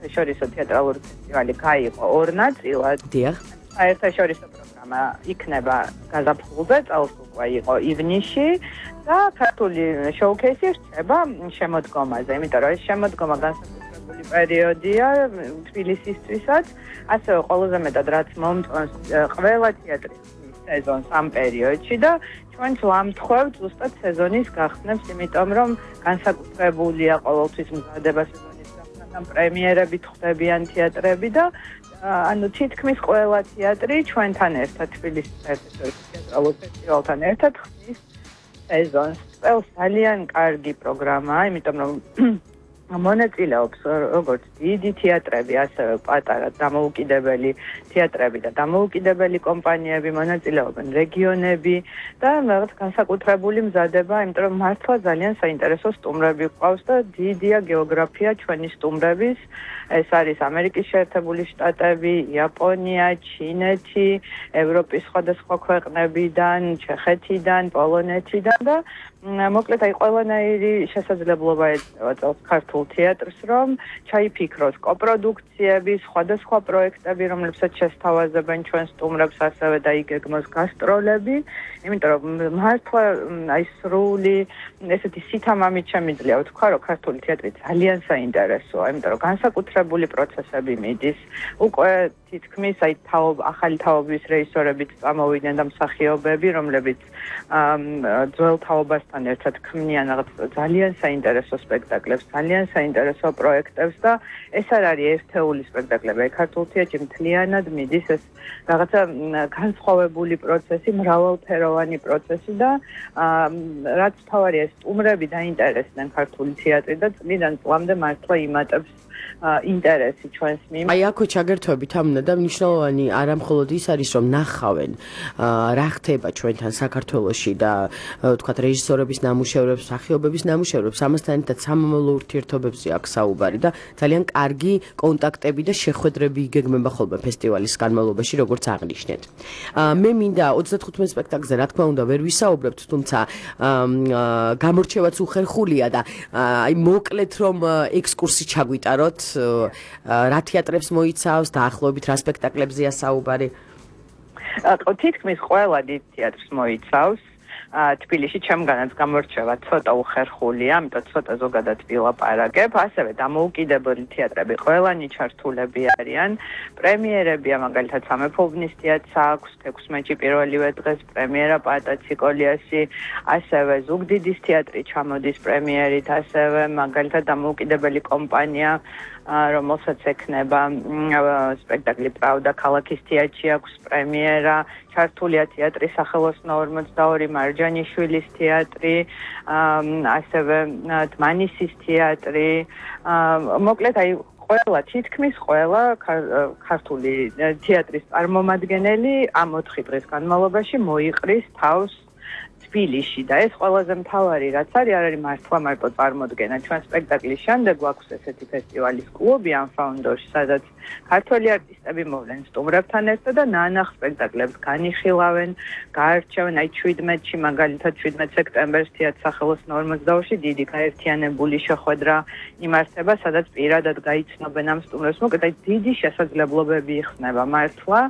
საერთაშორისო თეატრალური ფესტივალი გაიყო ორ ნაწილად. დიახ. საერთაშორისო პროგრამა იქნება გაზაფხულზე, წელს უკვე იყო ივნისში და ქართული შოუქეისი რჩება შემოდგომაზე, იმიტომ რომ ეს შემოდგომა განსაკუთრებული პერიოდია თბილისისთვისაც, ასევე ყველაზე მეტად რაც მომწონს ყველა თეატრის სეზონს ამ პერიოდში და ჩვენც ვამთხოვთ ზუსტად სეზონის გახსნებს, იმიტომ რომ განსაკუთრებულია ყოველთვის მზადება სეზონის გახსნასთან, პრემიერები ხდებიან თეატრები და ანუ თითქმის ყველა თეატრი ჩვენთან ერთად თბილისის საერთაშორისო თეატრალურ ფესტივალთან ერთად ხდის სეზონს. წელს ძალიან კარგი პროგრამაა, იმიტომ რომ მონაწილეობს როგორც დიდი თეატრები, ასევე პატარა დამოუკიდებელი თეატრები და დამოუკიდებელი კომპანიები, მონაწილეობენ რეგიონები და რაღაც განსაკუთრებული მზადება, იმიტომ რომ მართლა ძალიან საინტერესო სტუმრები გვყავს და დიდია გეოგრაფია ჩვენი სტუმრების. ეს არის ამერიკის შეერთებული შტატები, იაპონია, ჩინეთი, ევროპის სხვადასხვა ქვეყნებიდან, ჩეხეთიდან, პოლონეთიდან და მოკლედ აი ყველანაირი შესაძლებლობა ეწევა წელს ქართულ თეატრს, რომ ჩაიფიქროს კოპროდუქციები, სხვადასხვა პროექტები, რომლებსაც შესთავაზებენ ჩვენ სტუმრებს, ასევე დაიგეგმოს გასტროლები, იმიტომ რომ მართლა აი სრული ესეთი სითამამით შემიძლია ვთქვა, რომ ქართული თეატრი ძალიან საინტერესოა, იმიტომ რომ განსაკუთრებული პროცესები მიდის. უკვე თითქმის აი ახალი თაობის რეჟისორებიც წამოვიდნენ და მსახიობები, რომლებიც ძველ თაობასთან ერთად ქმნიან რაღაც ძალიან საინტერესო სპექტაკლებს, ძალიან საინტერესო პროექტებს და ეს არ არის ერთეული სპექტაკლები. ქართულ თეატრში მთლიანად მიდის ეს რაღაცა განსხვავებული პროცესი, მრავალფეროვანი პროცესი და რაც თავარია სტუმრები დაინტერესდნენ ქართული თეატრი და წლიდან წლამდე მართლა იმატებს ინტერესი ჩვენს მიმართ. აი აქვე ჩაგერთვებით ამნა და მნიშვნელოვანი არა მხოლოდ ის არის რომ ნახავენ რა ხდება ჩვენთან საქართველოში და ვთქვათ რეჟისორების ნამუშევრებს, მსახიობების ნამუშევრებს, ამასთან ერთად სამომავლო ურთიერთობებზე აქვს საუბარი და ძალიან კარგი კონტაქტები და შეხვედრები იგეგმება ხოლმე ფესტივალის განმავლობაში, როგორც აღნიშნეთ. მე მინდა 35 სპექტაკლზე რა თქმა უნდა ვერ ვისაუბრებთ, თუმცა გამორჩევაც უხერხულია და აი მოკლედ რომ ექსკურსი ჩაგვიტაროთ რა თეატრებს მოიცავს, დაახლოებით რა სპექტაკლებზეა საუბარი? თითქმის ყველა დიდ თეატრს მოიცავს. თბილისში ჩემგანაც გამორჩევა ცოტა უხერხულია, ამიტომ ცოტა ზოგადად ვილაპარაკებ. ასევე დამოუკიდებელი თეატრები ყველანი ჩართულები არიან. პრემიერებია, მაგალითად სამეფო უბნის თეატრს აქვს 16-ში პირველივე დღეს პრემიერა პატაციკოლიასი, ასევე ზუგდიდის თეატრი ჩამოდის პრემიერით, ასევე მაგალითად დამოუკიდებელი კომპანია რომელსაც ექნება სპექტაკლი პრავდა ქალაქის თეატრში აქვს პრემიერა, ჩართულია თეატრის სახელოსნო 42 მარჯანიშვილის თეატრი, ასევე დმანისის თეატრი, მოკლედ აი ყველა თითქმის ყველა ქართული თეატრის წარმომადგენელი ამ 4 დღის განმავლობაში მოიყრის თავს თბილისში და ეს ყველაზე მთავარი რაც არის მართლა მარტო წარმოდგენა. ჩვენ სპექტაკლის შემდეგ გვაქვს ესეთი ფესტივალის კლუბი Unfounders, სადაც ქართველი არტისტები მოვლენ სტუმრებთან ერთად და ნანახ სპექტაკლებს განიხილავენ, გაარჩევენ. აი 17-ში მაგალითად 17 სექტემბერს თეატრ სახელოსნო 42-ში დიდი გაერთიანებული შეხვედრა იმართება, სადაც პირადად გაიცნობენ ამ სტუმრებს. მოკლედ აი დიდი შესაძლებლობები იხსნება მართლა,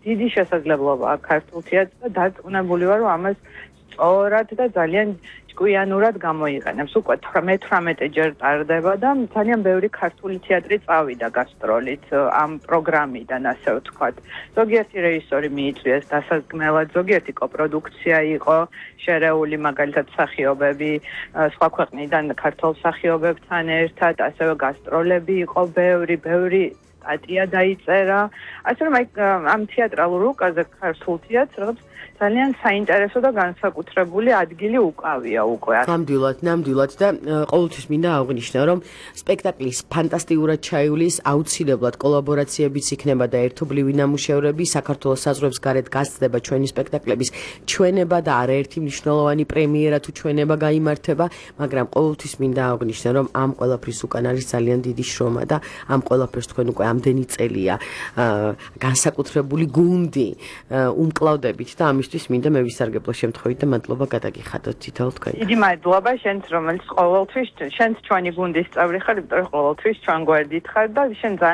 დიდი შესაძლებლობაა ქართულ თეატრს და დარწმუნებული ვარ, რომ ამას სწორად და ძალიან ჭკვიანურად გამოიყენებს. უკვე 18 ჯერ ტარდება და ძალიან ბევრი ქართული თეატრი წავიდა გასტროლით ამ პროგრამიდან, ასე ვთქვათ. ზოგიერთი რეჟისორი მიიწვიეს დასადგმელად, ზოგიერთი კოპროდუქცია იყო შერეული, მაგალითად მსახიობები სხვა ქვეყნიდან ქართულ მსახიობებთან ერთად, ასევე გასტროლები იყო ბევრი სტატია დაიწერა. ასე რომ აი ამ თეატრალურ რუკაზე ქართულ თეატრს რაღაც ძალიან საინტერესო და განსაკუთრებული ადგილი უკავია უკვე. ნამდვილად და ყოველთვის მინდა აღვნიშნო, რომ სპექტაკლის ფანტასტიკურად ჩაივლის, აუცილებლად კოლაბორაციებიც იქნება და ერთობლივი ნამუშევრები, საქართველოს საზღვრებს გარეთ გასცდება ჩვენი სპექტაკლების ჩვენება და არაერთი მნიშვნელოვანი პრემიერა თუ ჩვენება გაიმართება, მაგრამ ყოველთვის მინდა აღვნიშნო, რომ ამ ყველაფრის უკან არის ძალიან დიდი შრომა და ამ ყველაფერს თქვენ უკვე ამდენი წელია განსაკუთრებული გუნდი უმკლავდებით და ამისთვის მინდა მე ვისარგებლო შემთხვევით და მადლობა გადაგიხადოთ თითოეულ თქვენ. დიდი მადლობა შენც, რომელიც ყოველთვის შენც ჩვენი გუნდის წევრი ხარ, იმიტომ რომ ყოველთვის ჩვენ გვერდით ხარ და შენ